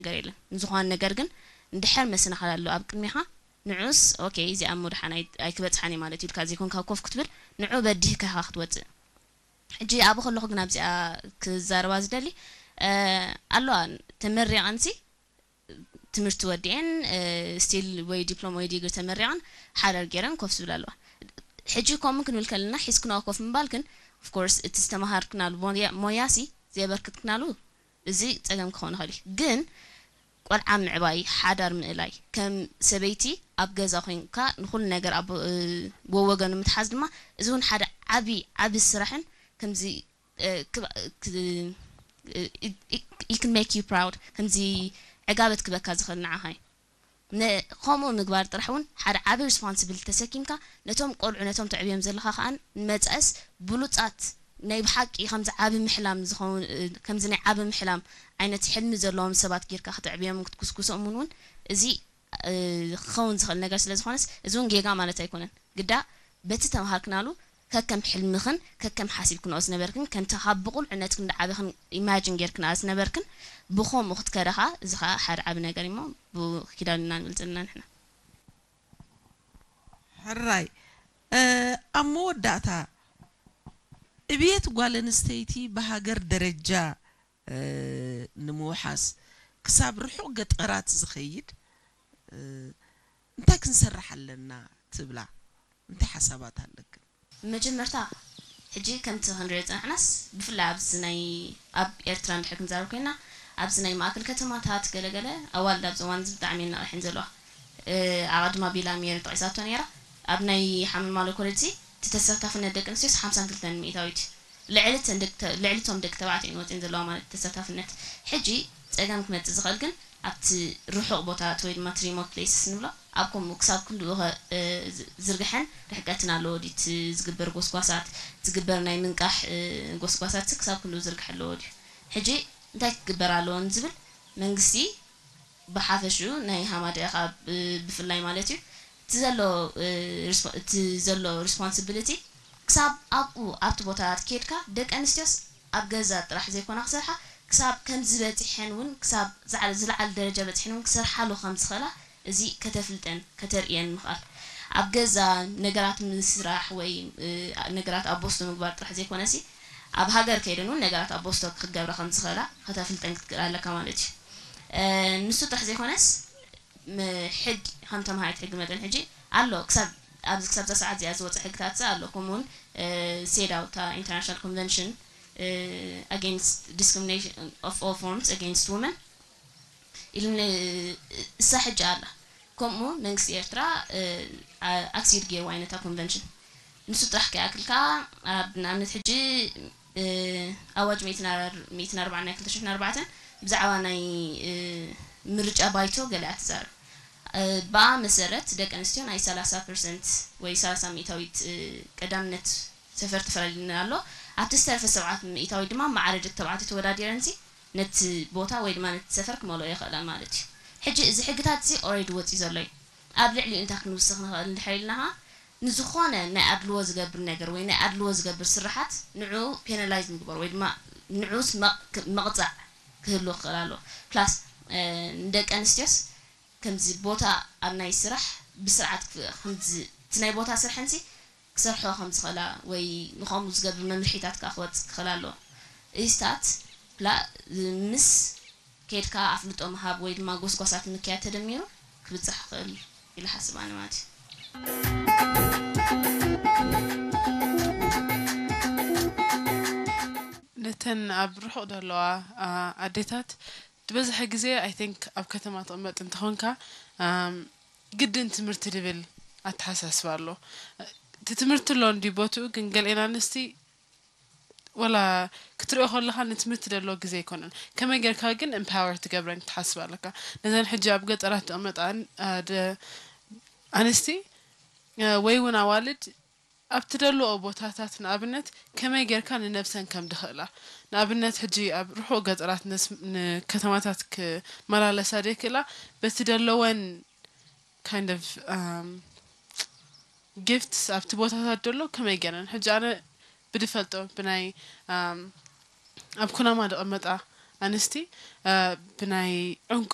ነገር የለን። ንዝኾነ ነገር ግን እንድሕር መሰናኽል ኣሎ ኣብ ቅድሜኻ፣ ንዑስ ኦኬ፣ እዚኣ እሞ ደሓን ኣይ-፣ ኣይክበጽሓን እየ ማለት እዩ ኢልካ ዘይኮንካ ኮፍ ክትብል፣ ንዑ በዲህካ ኢኻ ክትወጽእ። ሕጂ ኣብኡ ከለኹ ግን ኣብዚኣ ክዛረባ ዝደሊ፣ እ፣ ኣለዋ፣ ተመሪቐንሲ ትምህርቲ ወዲኤን፣ እ፣ ስቲል ወይ ዲፕሎማ ወይ ዲግሪ ተመሪቐን ሓዳር ገይረን ኮፍ ዝብል ኣለዋ። ሕጂ ከምኡ ክንብል ከለና ሒዝክንኦ ኮፍ ምባል ግን ኦፍኮርስ እቲ ዝተምሃርክናሉ ሞያ-፣ ሞያሲ ዘየበርክትክናሉ እዚ ጸገም ክኸውን ይኽእል እዩ። ግን ቆልዓ ምዕባይ፣ ሓዳር ምእላይ፣ ከም ሰበይቲ ኣብ ገዛ ኮይንካ ንኹሉ ነገር ኣብ፣ እ፣ ወወገኑ ምትሓዝ ድማ እዚ እውን ሓደ ዓቢ፣ ዓቢ ስራሕን ከምዚ፣ እ፣ ክብ-፣ ክ-፣ እ፣ it, it, it can make you proud፣ ከምዚ ዕጋበት ክበካ ዝኽእል ንዓኻ እዩ። ነ-፣ ከምኡ ምግባር ጥራሕ እውን ሓደ ዓቢ ሪስፖንስብል ተሰኪምካ ነቶም ቆልዑ ነቶም ተዕብዮም ዘለኻ ከኣ ንመጻእስ ብሉጻት ናይ ብሓቂ ከምዚ ዓቢ ምሕላም ዝኸውን፣ እ፣ ከምዚ ናይ ዓቢ ምሕላም ዓይነት ሕልሚ ዘለዎም ሰባት ጌርካ ከተዕብዮም ክትኩስኩሶም እውን፣ እውን እዚ፣ እ፣ ክኸውን ዝኽእል ነገር ስለ ዝኾነስ እዚ እውን ጌጋ ማለት ኣይኮነን። ግዳ በቲ ተምሃርክናሉ ከከም ሕልምኽን ከከም ሓሲብክንኦ ዝነበርክን ከምቲ ካብ ብቑልዕነትክን ዝዓበኽን ኢማጂን ጌርክንኣ ዝነበርክን ብኸምኡ ክትከዳ ኸኣ እዚ ኸኣ ሓደ ዓቢ ነገር እዩ እሞ ብኪዳን ኢና ንብል ዘለና ንሕና። ሕራይ፣ እ፣ ኣብ መወዳእታ ዕብየት ጓል ኣንስተይቲ ብሃገር ደረጃ፣ እ፣ ንምውሓስ ክሳብ ርሑቕ ገጠራት ዝኸይድ፣ እ፣ እንታይ ክንሰርሕ ኣለና ትብላ? እንታይ ሓሳባት ኣለክን? መጀመርታ ሕጂ ከምቲ ክንሪኦ ዝጸናሕናስ ብፍላይ ኣብዚ ናይ ኣብ ኤርትራ እንድሕር ክንዛረብ ኮይና ኣብዚ ናይ ማእከል ከተማታት ገለገለ ኣዋልድ ኣብዚ እዋን እዚ ብጣዕሚ እየን ነቒሐን ዘለዋ። እ፣ ኣቐድማ ቢላ ሜሪ ጠቒሳቶ ነይራ። ኣብ ናይ ሓመልማሎ ኮሌጅ እዚ እቲ ተሳታፍነት ደቂ ኣንስትዮስ ሓምሳን ክልተን ሚእታዊት እዩ። ልዕሊ እተን ደቂ ተ-፣ ልዕሊ እቶም ደቂ ተባዕትዮ እየን ወጺኤን ዘለዋ ማለት እዩ ተሳታፍነት። ሕጂ ጸገም ክመጽእ ዝኽእል ግን ኣብቲ ርሑቕ ቦታታት ወይ ድማ እቲ ሪሞት ፕሌስስ ንብሎ ኣብ ከምኡ ክሳብ ክንድኡ ከ-፣ እ፣ ዝ-፣ ዝርግሐን ርሕቀትን ኣለዎ ድዩ? እቲ ዝግበር ጎስጓሳት፣ ዝግበር ናይ ምንቃሕ፣ እ፣ ጎስጓሳትሲ ክሳብ ክንድኡ ዝርግሐ ኣለዎ ድዩ? ሕጂ እንታይ ክግበር ኣለዎ ንዝብል መንግስቲ ብሓፈሽኡ ናይ ሃማደኤ ከኣ ብ-፣ ብፍላይ ማለት እዩ እቲ ዘሎ፣ እ፣ ሪስፖ-፣ እቲ ዘሎ ሪስፖንሲቢሊቲ ክሳብ ኣብኡ ኣብቲ ቦታታት ኬድካ ደቂ ኣንስትዮስ ኣብ ገዛ ጥራሕ ዘይኮና ክሰርሓ ክሳብ ከምዚ በጺሐን እውን ክሳብ ዝዓ-፣ ዝለዓለ ደረጃ በጺሐን እውን ክሰርሓሉ ከም ዝኽእላ እዚ ከተፍልጠን ከተርእየን ምኽኣል ኣብ ገዛ ነገራት ምስራሕ ወይ፣ እ፣ ነገራት ኣብ ቦስቶ ምግባር ጥራሕ ዘይኮነሲ ኣብ ሃገር ከይደን እውን ነገራት ኣብ ቦስቶ ክገብራ ከም ዝኽእላ ከተፍልጠን ክትክእል ኣለካ ማለት እዩ። እ፣ ንሱ ጥራሕ ዘይኮነስ ም-፣ ሕጊ ከም ተምሃሪት ሕጊ መጠን ሕጂ ኣሎ ክሳብ ኣብዚ ክሳብ እዛ ሰዓት እዚኣ ዝወፀ ሕግታት ዝኣ ኣሎ ከምኡ እውን ሴዳው እታ ኢንተርናሽናል ኮንቨንሽን against discrimination of all forms against women ኢሉ እሳ ሕጂ ኣላ። ከምኡ መንግስቲ ኤርትራ ኣክሲድ ገይርዋ እዩ ነታ ኮንቨንሽን። ንሱ ጥራሕ ከይኣክል ከኣ ኣብ ንኣብነት ሕጂ ኣዋጅ ሚእትን ኣርባዓን ናይ ክልተ ሽሕን ኣርባዕተን ብዛዕባ ናይ ምርጫ ባይቶ ገለ እያ ትዛረብ። ብኣ መሰረት ደቂ ኣንስትዮ ናይ ሰላሳ ፐርሰንት ወይ ሰላሳ ሚእታዊት ቀዳምነት ሰፈር ተፈላሊና ኣሎ። ኣብቲ ዝተረፈ ሰብዓ ሚእታዊት ድማ ማዕረ ደቂ ተባዕትዮ ተወዳዲረንሲ ነቲ ቦታ ወይ ድማ ነቲ ሰፈር ክመልኦ ይኽእላ ማለት እዩ። ሕጂ እዚ ሕግታት እዚ ኦሬዲ ወፂኡ ዘሎ እዩ። ኣብ ልዕሊኡ እንታይ ክንውስኽ ንኽእል እንድሕር ኢልና ኸዓ ንዝኾነ ናይ ኣድልዎ ዝገብር ነገር ወይ ናይ ኣድልዎ ዝገብር ስርሓት ንዕኡ ፔናላይዝ ምግባር ወይ ድማ ንዕኡስ መቕ- መቕፃዕ ክህልዎ ክኽእል ኣለዎ። ፕላስ ንደቂ ኣንስትዮስ ከምዚ ቦታ ኣብ ናይ ስራሕ ብስርዓት ክ- ከምዚ እቲ ናይ ቦታ ስርሐንሲ ክሰርሖ ከም ዝኽእላ ወይ ንኸምኡ ዝገብር መምርሒታት ከዓ ክወፅእ ክኽእል ኣለዎ። ኢስታት ላ ምስ ከይድካ ኣፍልጦ ምሃብ ወይ ድማ ጎስጓሳት ምክያድ ተደሚሩ ክብፃሕ ይኽእል ኢለ ሓስብ ኣነ ማለት እዩ። ነተን ኣብ ርሑቕ ዘለዋ ኣዴታት ዝበዝሐ ግዜ ኣይ ቲንክ ኣብ ከተማ ትቕመጥ እንተኾንካ ግድን ትምህርቲ ድብል ኣተሓሳስባ ኣሎ። እቲ ትምህርቲ ኣሎ እንዲ ቦትኡ ግን ገሊኤን ኣንስቲ ወላ ክትሪኦ ከለኻ ንትምህርቲ ደሎ ግዜ ኣይኮነን። ከመይ ጌርካ ግን ኤምፓወር ትገብረን ክትሓስብ ኣለካ። ነዘን ሕጂ ኣብ ገጠራት ዝቕመጣ ኣንስቲ ወይ እውን ኣዋልድ ኣብቲ ደለኦ ቦታታት ንኣብነት ከመይ ጌርካ ንነብሰን ከም ድኽእላ ንኣብነት ሕጂ ኣብ ርሑቕ ገጠራት ንከተማታት ክመላለሳ ደይክእላ በቲ ደለወን kind of ጊፍትስ ኣብቲ ቦታታት ደሎ ከመይ ጌረን ሕጂ ኣነ ብድፈልጦ ብናይ ኣብ ኩናማ ድቐመጣ ኣንስቲ ብናይ ዕንቁ